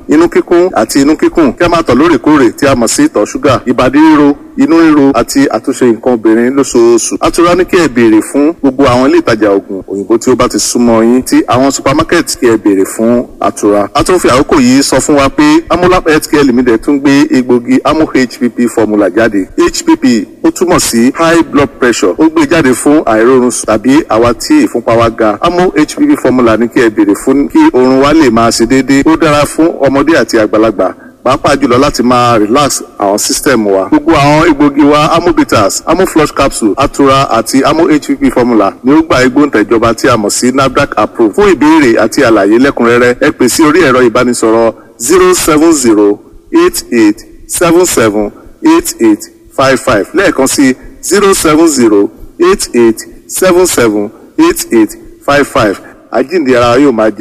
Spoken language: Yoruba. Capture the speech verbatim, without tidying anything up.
Inú kíkún àti inú kíkùn, kí a máa tọ̀ lóòrèkóòrè tí a mọ̀ sí ìtọ̀ ṣúgà, ìbàdí ríro, inú ríro àti àtúnṣe nǹkan obìnrin lóṣooṣù. Atura ní kí ẹ béèrè fún gbogbo àwọn ilé ìtajà oògùn òyìnbó tí ó bá ti súnmọ́ yín, tí àwọn supermarket, kí ẹ béèrè fún Atura. A tún fi àkókò yìí sọ fún wa pé Amolab Healthcare Limited tún gbé egbògi Amo H P P formula jáde. H P P, ó túmọ̀ sí high blood pressure. Ó gbé jáde fún àìróorun sùn tàbí àwa tí ìfúnpá wa ga. Amo H P P formula ní kí ẹ béèrè fún kí oorun wa lè máa ṣe déédéé. Ó dára fún ọmọdé àti àgbàlagbà, pàápàá jùlọ láti máa relax àwọn system wa. Gbogbo àwọn egbògi wa, Amobitas, Amoflush capsule, Atura àti Amo H P P formula, ni ó gba igbóǹtẹ̀jọba tí a mọ̀ sí NAFDAC approved. Fún ìbéèrè àti àlàyé lẹ́kùnrẹ́rẹ́, ẹ pè sí orí ẹ̀rọ ìbánisọ̀rọ̀ zero seven zero eight eight seven seven eight eight five five. Lẹ́ẹ̀kan sí, zero seven zero eight eight seven seven eight eight five five. Àjíǹde ara yóò máa jẹ́.